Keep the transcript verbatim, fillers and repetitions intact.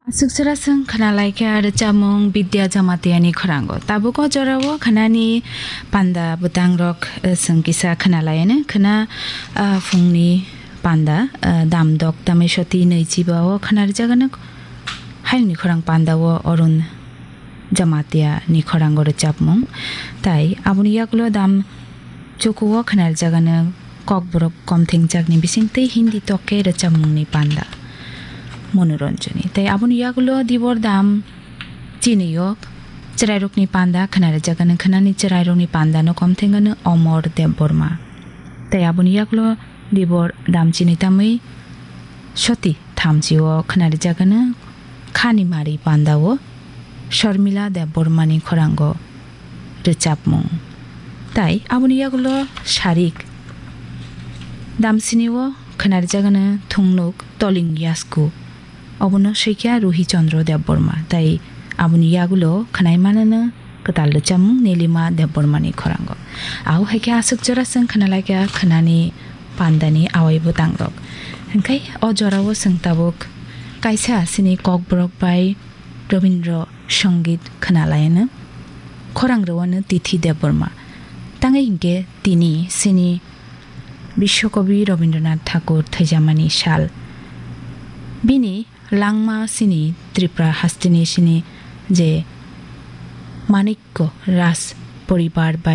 Aswk chwra chwng khna lai kha rwchapmung Bidya Jamatiani khorang o. Tabuk o jora o khnani panda bwtang rok, eh, chwng kisa khna lai anw. Khna, ah, phungni panda, ah, dam dok tamai soti nwi chiba o khna rwjak anw. Hayungni khorang panda o Arun Jamatia ni khorang o rwchapmung. Tai aboni yagulo dam chuku o khna rwjak anw Kokborok Komthengjakni bisingtwi Hindi tokke rwchapmungni panda Monoranjani. Tai aboni yagulo Dibor dam chini o chwrairokni panda khna rwjak anw, khnani chwrairokni panda no komtheng anw Omor Debbarma. Tai aboni yagulo Dibor dam chini tamwi soti thamchi o khna rwjak anw Khani Mari panda o Sharmila Debbarmani khorang o rwchapmung. Tai aboni yagulo sarik damsini o khna rwjak anw Thungnuk Toling Yasku, obono swikha Ruhi Chandra Debbarma. Tai aboni yagulo khwnai mananw kwtal rwchapmung Nilima Debbarmani khorang o. Abo hai khe aswk jora chwng khna lai kha khnani pandani awai bwtang rok. Hwnkhe o jora o chwng tabuk kaisa chini Kokborok bai Rabindra Sangeet khna lai anw, khorang rw anw Tithi Debbarma. Tangwi hinkhe tini chini Biswakobi Rabindranath Thakur thwijamani sal. Bini langma chini Tripura hasteni chini je Manikya Raj poribar bai